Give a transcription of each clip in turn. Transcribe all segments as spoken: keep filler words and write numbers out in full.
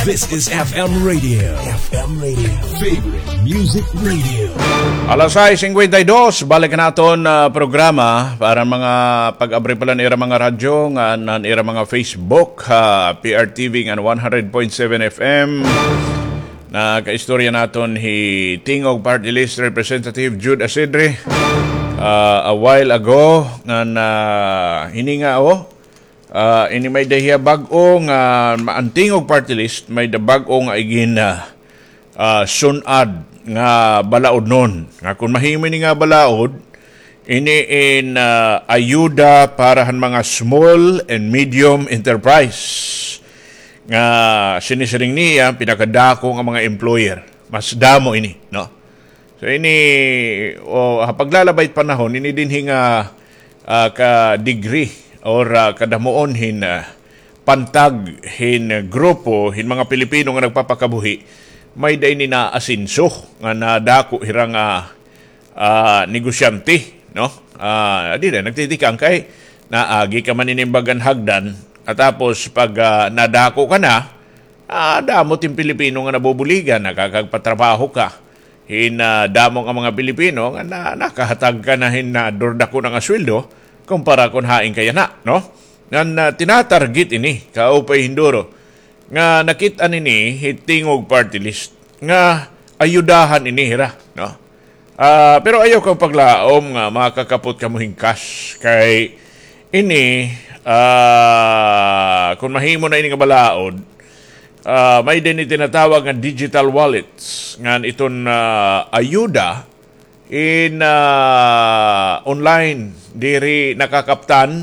This is F M Radio. F M Radio. Favorite Music Radio. Alas sais singkwenta y dos, balik an aton, ah, programa para mga pag-abri pa la han ira mga radyo, ngan han ira mga Facebook, ha P R T V ngan one hundred point seven F M. Nakaistorya naton hi Tingog Party List Representative Jude Asidre, ah, a while ago, ngan, ah, hini nga, oh, ah, ini may-ada hiya bag-o nga, ma-, an Tingog Party List, may-ada bag-o nga igin, ah, ah, sun-ad nga balaod non. Nga kon mahimo ini nga balaod, ini in, ah, ayuda para han mga small and medium enterprise. Nga sinisiring niya, pinakadako nga mga employer. Mas damo ini, no? So ini, o, ha paglalabay it panahon, ini dinhi nga, ah, ka degree or, ah, kadamuon hin, ah, pantag hin grupo hin mga Pilipino nga nagpapakabuhi, may-ada ini naasenso nga nadako hira nga, ah, negosyante, no? Ah, dida nagtitikang kay naagi ka man ini hin bag-o nga hagdan, at tapos pag, ah, nadako ka na, ah, damo it hin Pilipino nga nabubuligan, nakakagpatrabaho ka hin, ah, damo nga mga Pilipino nga na, nakahatag ka na hin, ah, durdako na nga sweldo kumpara kon hain ka yana, no? Ngan, ah, tinatarget ini, kaupay hin duro. Nga nakit-an ini, hi Tingog Party List, nga ayudahan ini hira, no? Ah, pero ayaw kamo paglaom nga makakapot kamo hin cash kay ini, ah, kon mahimo na ini nga balaod, ah, may-ada ini tinatawag nga digital wallets, ngan iton, ah, ayuda in, ah, online, diri nakakaptan,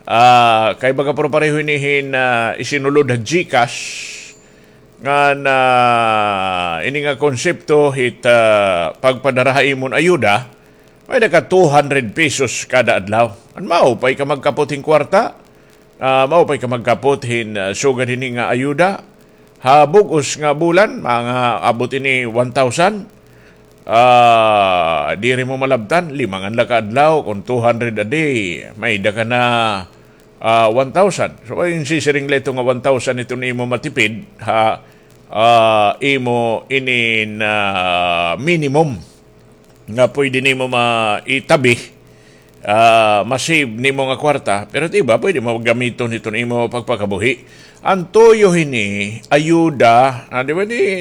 ah, kay baga puro pareho ini hin, ah, isinulod ha GCash, ngan, ah, ini nga konsepto hit, ah, pagpadara ha imo hin ayuda, may-ada ka two hundred pesos kada adlaw. Ngan maupay ka magkapot hin kwarta, ah, maupay ka magkapot hin, ah, sugad hini nga ayuda. Ha bug-os nga bulan, mga abot ini one thousand. Ah, diri mo malabtan, lima ngan la ka adlaw, kon two hundred a day, may-ada ka na, ah, one thousand. So, ay, sisiring la ito nga one thousand iton imo matipid, ha, ah, imo inin, ah, minimum nga pwede nimo maitabi, ah, ma-save nimo nga kwarta, pero it iba pwede mo gamiton hiton imo pagpakabuhi. An tuyo hini, ayuda, ah, di ba, di,